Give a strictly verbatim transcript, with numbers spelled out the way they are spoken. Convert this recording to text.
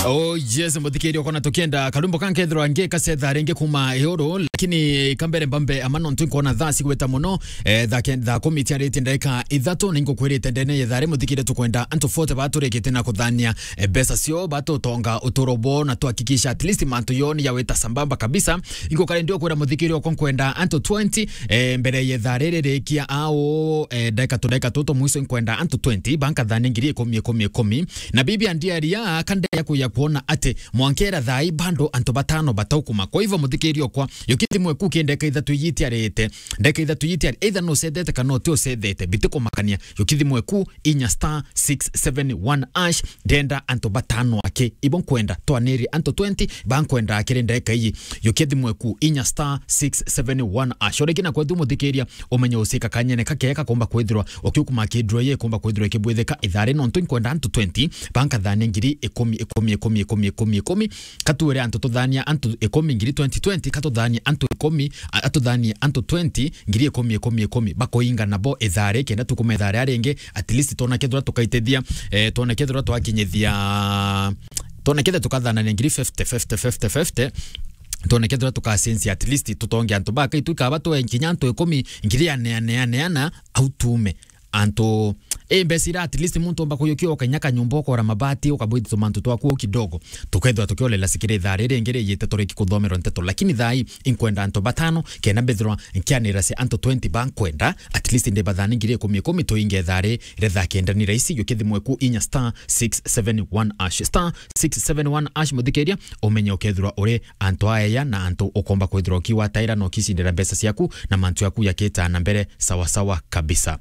Oh yes, muthikiria ukona tukienda karumbo kankethirwa ngi kasetha ringi kuma iuru, lakini kambere mbambe ama nontu nkona thaa cigweta muno, eh, thaa ke-, thaa kumi ciarite ndagika ithatu, ni ngukwirite ndene ya thaa ri muthikiria tukwenda antu forty baturikite na kuthania, eh, mbeca cio batutonga uturo bo na tuhakikisha at least mantu yo ni yawita sambamba kabisa. Ingukare ndio kwira muthikiria uko nkwenda antu twenty, eh, mbere ya thaa riri rikia au, eh, ndagika tu, ndagika tutu mwiso nkwenda antu twenty bankathania ngiri ikumi, ikumi, ikumi. Na bibi andiaria kande ya kuya kuona ati mwankera thai bando antu batano bataukuma. Kwa hivyo muthikiria okwa, yukithi mweku kende ka ithatu yitiarite. Ndeka ithatu yitiari, either no sethete kana uti usethete, biti kumakania. Yukithi mweku inya star six seven one hash, ndenda antu batano aki. Ibo nkwenda twaniri antu twenty, ba nkwenda akiri ndeka iyi. Yukithi mweku inya star six seven one hash. Oreki na kwetu muthikiria, umenye usika kanyene kakega komba kwithirwa ukiukuma kidro ye komba kwithirwa ikibwithika ithari nontu nkwenda antu twenty bankathania ngiri ikumi, ikumi, ikumi, ikumi, ikumi, ikumi. Katuire antu tuthania antu ikumi ngiri twenty twenty, katuthania antu ikumi, a-, atuthanie antu twenty ngiri ikumi, ikumi, ikumi. Bakoinga nabo ithari kenda tukuma ithari aringi, at least twona kethira tukaitithia, eh, twona kethira twakinyithia, twona kethira tukathanania ngiri fifty, fifty, fifty, fifty. Twone kethira tukacenjia at least tutonge antu baka itu ikaba twe nkinya antu ikumi ngiri aneaneaneana au tume antu. Eh, mbeca ira at least muntu omba kuyukia ukainya kanyumba ukora mabati ukabwithia tumantu twaku au kidogo. Tukethirwa tukiolela sikire thaa riri ringi rijite turiki kuthomerwa nteto, lakini thaa ii inkwenda antu batano kenda mbithirwa nkianira cia antu twenty bankwenda at least ndibathani ngiri ikumi ikumi tuinge thaa ri retha kenda ni raisi yukithi mweku inya star six seven one hash star six seven one hash muthikiria umenye ukethirwa uri antu aeya na antu ukomba kwithirwa ukiwataira na ukicindira mbeca ciaku na mantu yaku yakita na mbere sawa sawa kabisa.